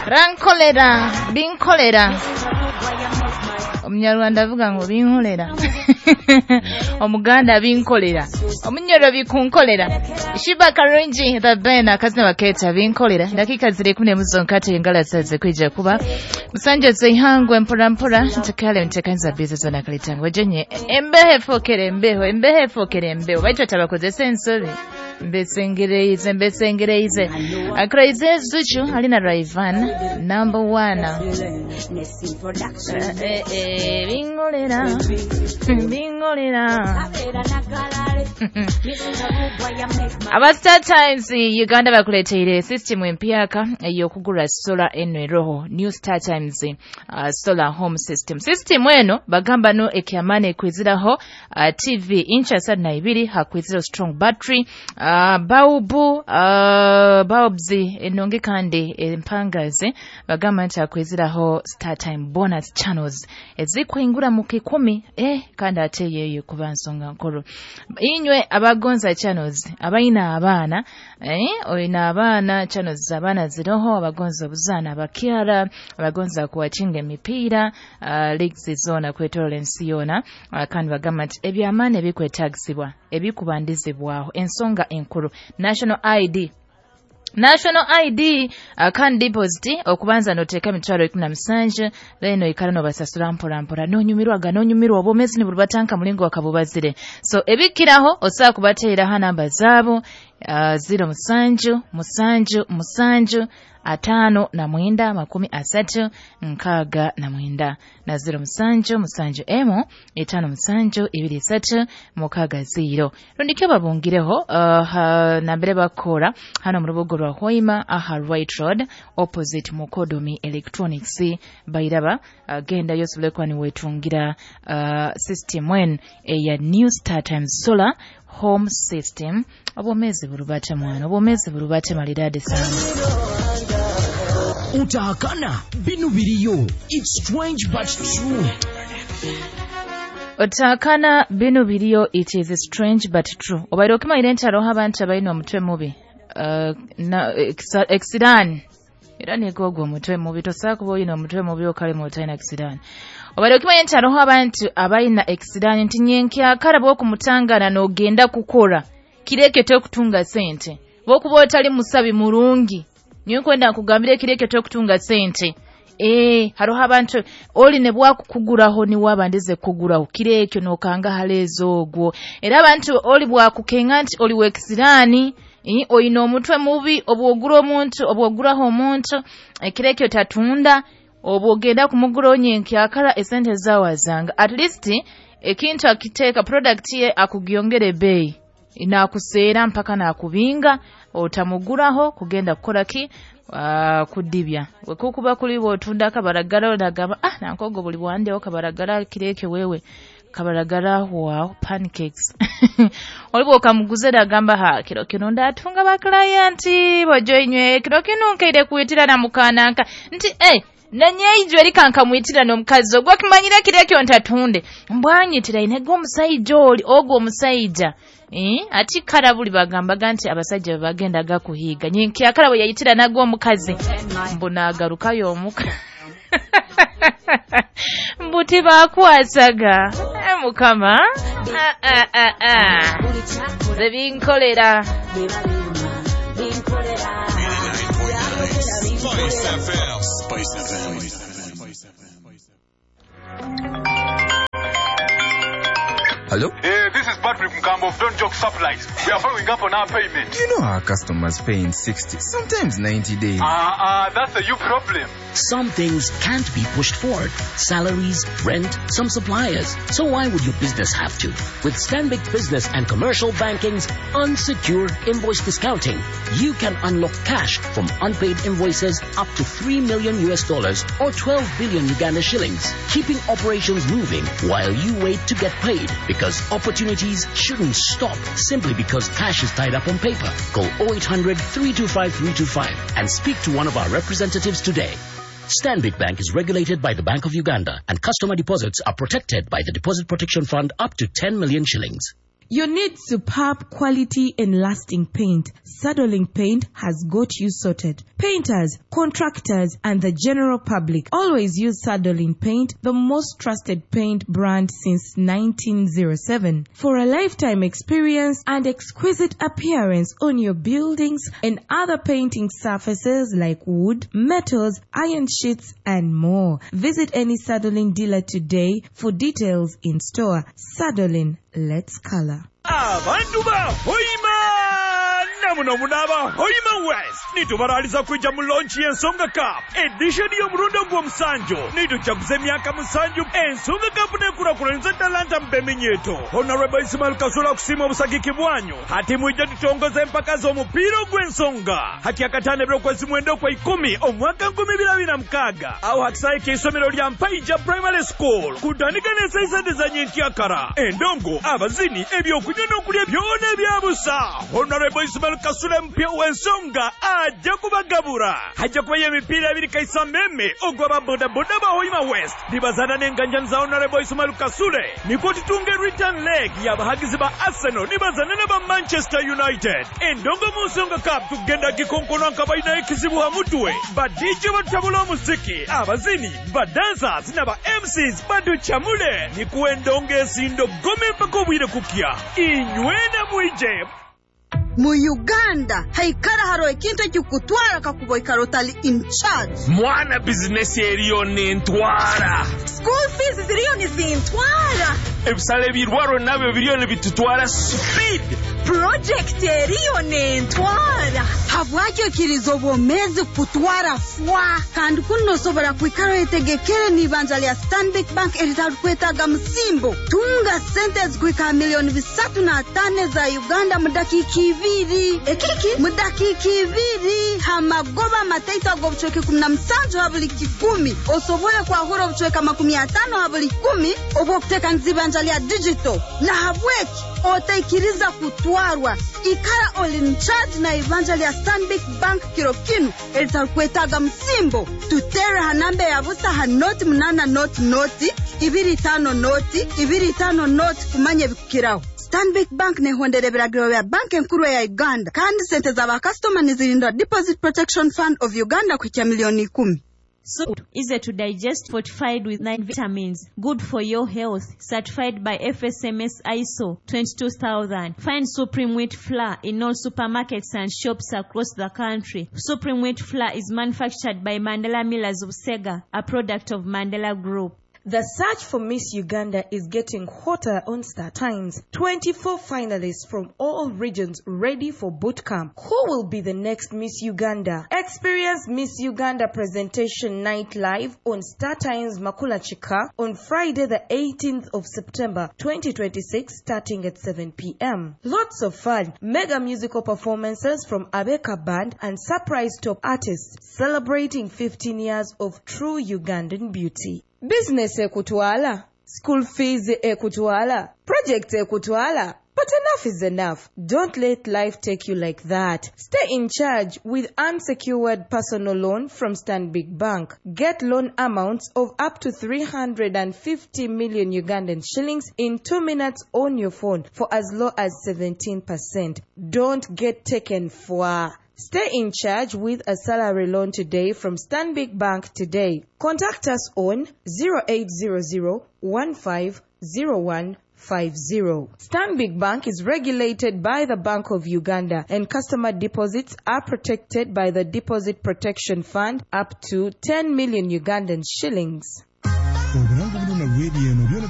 Rankolera binkolera omunyarwanda avuga ngu binkolera omuganda binkolera omunyoro bikunkolera Sheebah Karungi the Ben akazina bakeeta binkolera dakika ziri 11 zonkate engala saze kwija kuba musanja zeihangwe mpora mpora ntekale ntekanza biza zona kalitangwe jenye embeho efokere embeho embeho efokere embeho baitu atabakozesa ensobi mbesengereize mbesengereize akraize Zuchu alina Rayvan number 1 bingolera bingolera Aba Star Times Uganda bakuleteire system empyaka ey'okugura solar eno eroho New Star Times solar home system. System eno bagamba no ekyamani ekwiziraho TV inch 32 hakwiziraho strong battery, bulb, bulbs enonge kandi empangazi bagamba nti hakwiziraho Star Time bonus channels ezikwingura mu 10 kandi ate yeyo kuba nsonga nkuru. Inywe abagonza channels abaina abaana oyina abaana channels abaana ziroho abagonza obuzaana abakyara abagonza kuwachinga emipiira leagues zona kwetorola ensi yona kandi bagamba nti ebyamaani ebikwetagisibwa ebikubandizibwaho ensonga enkuru National ID National ID kandi deposit okubanza noteeka emitwaro 17 then oikara nobasasura mpora mpora nonyumirwaga nonyumirwa obwomezi niburubatanka mulingo wakabubazire so ebikiraho osobola kubateeraho namba zaabo 0 7 7 7 5 9 30 69 na 0 7 7 M 5 7 2 3 6 0 rundikyo babungireho nambere bakora hano mu rubuga rwa Hoima aha Right Road opposite Mukodomi Electronics bairaba genda yosobole kuba niwetungira system eno eya New Star Times Solar Home System. Obwomezi burubate mwana obwomezi burubate malidadi sana. Utahakana binu biriyo. It's strange but true. Utahakana binu biriyo, it is strange but true. Obaire okimanyi nti hariho abantu abaine omutwe mubi ekisiraani era niko ogwo omutwe mubi tosobola kuba oyine omutwe mubi okalema otalina kisiraani. Obaire okimanyi nti hariho abantu abaina ekisiraani nti nyenkyakara bw'okumutangana n'ogenda kukora kireke tokutunga sente bw'okuba otali musabi murungi nyowe nkwenda nkugambire kireke tokutunga sente. Hariho abantu oli ne bwakukuguraho ni wabandize kuguraho kirekyo nokanga halezo ogwo era abantu oli bwakukenga nti oli wekisiraani oyina omutwe mubi obwogura omuntu obwoguraho omuntu kirekyo tatunda obwogenda kumugura onyenkyakara esente zawazanga at least ekintu akiteeka product ye akugyongere ebbeeyi nakuseera mpaka nakubinga otamuguraho kugenda kukola ki kudibya wekukuba kuli bwotunda kabaragara nagamba nankogo buli bwandeho kabaragara kireke wewe kabaragara wow pancakes olibo okamuguze nagamba ha kiro kino ndatunga ba client bojoinywe kiro kino nkeire kuitira na mukananka nti nanyeijwe erikankamwitira n'omukazi ogwo kimanyire kireke ntatunde mbwanyitira inego omusajja oli ogwo omusajja ati karabuli bagambaga nti abasajja bagendaga kuhiga nyenkyakara bwe yayitira nagwo omukazi mbu naagarukayo omuka mbu tibakwasaga mukama nze binkolera. Spice FM. Spice FM. Hello? This is Patrick Mkambo of Don't Joke Supplies. We are following up on our payment. You know our customers pay in 60, sometimes 90 days. That's a you problem. Some things can't be pushed forward. Salaries, rent, some suppliers. So why would your business have to? With Stanbic Business and Commercial Banking's unsecured invoice discounting, you can unlock cash from unpaid invoices up to $3 million or 12 billion Uganda shillings, keeping operations moving while you wait to get paid. Because opportunities shouldn't stop simply because cash is tied up on paper. Call 0800 325 325 and speak to one of our representatives today. Stanbic Bank is regulated by the Bank of Uganda and customer deposits are protected by the Deposit Protection Fund up to 10 million shillings. You need superb quality and lasting paint. Sadolin Paint has got you sorted. Painters, contractors, and the general public always use Sadolin Paint, the most trusted paint brand since 1907. For a lifetime experience and exquisite appearance on your buildings and other painting surfaces like wood, metals, iron sheets, and more. Visit any Sadolin dealer today for details in store. Sadolin, let's color. Abantu ba Hoima namuno munaba Hoima West nitubaraliza kwija mu launch y'Ensonga Cup edition y'omurundi ogw'omusanju. Nitujaguza emyaka 7 Ensonga Cup nekurakuranisa talanta mbeminyeto. Honorable Ismail Kasula kusiima obusagiki bwanyu hati mwije tutongoze empaka z'omupiira ogw'ensonga hati akatano ebyokwezi 9 kwa 10 omwaka 2026 aho hakisaye ky'isomero lya Mpaija Primary School kutandika n'esaisande za nyenkyakara endongo abazini ebyokunywa n'okulya byona ebyabusa. Honorable Ismail Kasule mpya w'ensonga ajja kubagabura. Hajja kubayo emipiira ebiri kaisa meme ogw'aba bodaboda ba Hoima West nibazana n'enganjani za Honorable Ismail Kasule nikwo tutunge return leg y'abahagizi ba Arsenal nibazana n'aba Manchester United. Endongo mu Nsonga Cup tugenda gikonkona nka balina ekizibu ha mutwe. Ba DJ batabula omuziki, abazini, ba dancers n'aba MCs baducamule nikuwa endongo esindo gome mpaka obwire kukya inywena mwije. Mu Uganda haikara haro ekintu ekikutwara kakuba oikara otali in charge. Mwana bizinesi eriyo nentwara. School fees ziriyo nizintwara. Ebisale ebirwaro nabyo biriyo nibitutwara speed. Project eriyo nentwara. Habwaki okiriza obwomezi kutwara fwa? Kandi kuno osobora kwikara oyetegekere n'ibanja lya Stanbic Bank eritarikwetaaga musimbo. Tunga sente ezikuhika 305 million za Uganda mu dakiika 2. Ekiki? Mu dakiika 2 hamagoba amataito ag'obucweka 17 ha buli 10. Osobole kwahura obucweka 50 ha buli 10 obw'okuteekaniza ibanja lya digital. Na habweki otaikiriza kutwarwa. Ikara oli in charge na ibanja lya Stanbic Bank kiro kinu eritarikwetaaga musimbo. Tutere ha namba ya busa ha 0 8 0 0 2 5 0 2 5 0 kumanya ebikukiraho. Stanbic Bank nehondera ebiragiro bya banki enkuru ya Uganda kandi sente z'abakasitoma nizirinda Deposit Protection Fund of Uganda kuhikya 10 million. Soup easy to digest, fortified with 9 vitamins, good for your health, certified by FSMS ISO 22000. Find Supreme Wheat Flour in all supermarkets and shops across the country. Supreme Wheat Flour is manufactured by Mandela Millers of Sega, a product of Mandela Group. The search for Miss Uganda is getting hotter on Star Times. 24 finalists from all regions ready for boot camp. Who will be the next Miss Uganda? Experience Miss Uganda presentation night live on Star Times Makula Chika on Friday the 18th of September 2026 starting at 7 p.m. Lots of fun, mega musical performances from Abeka Band and surprise top artists celebrating 15 years of true Ugandan beauty. Business ekutwala, school fees ekutwala, project ekutwala. But enough is enough. Don't let life take you like that. Stay in charge with unsecured personal loan from Stanbic Bank. Get loan amounts of up to 350 million Ugandan shillings in 2 minutes on your phone for as low as 17%. Don't get taken for. Stay in charge with a salary loan today from Stanbic Bank today. Contact us on 0800 1501 50. Stanbic Bank is regulated by the Bank of Uganda and customer deposits are protected by the Deposit Protection Fund up to 10 million Ugandan shillings. Obulango buno na radio eno byona.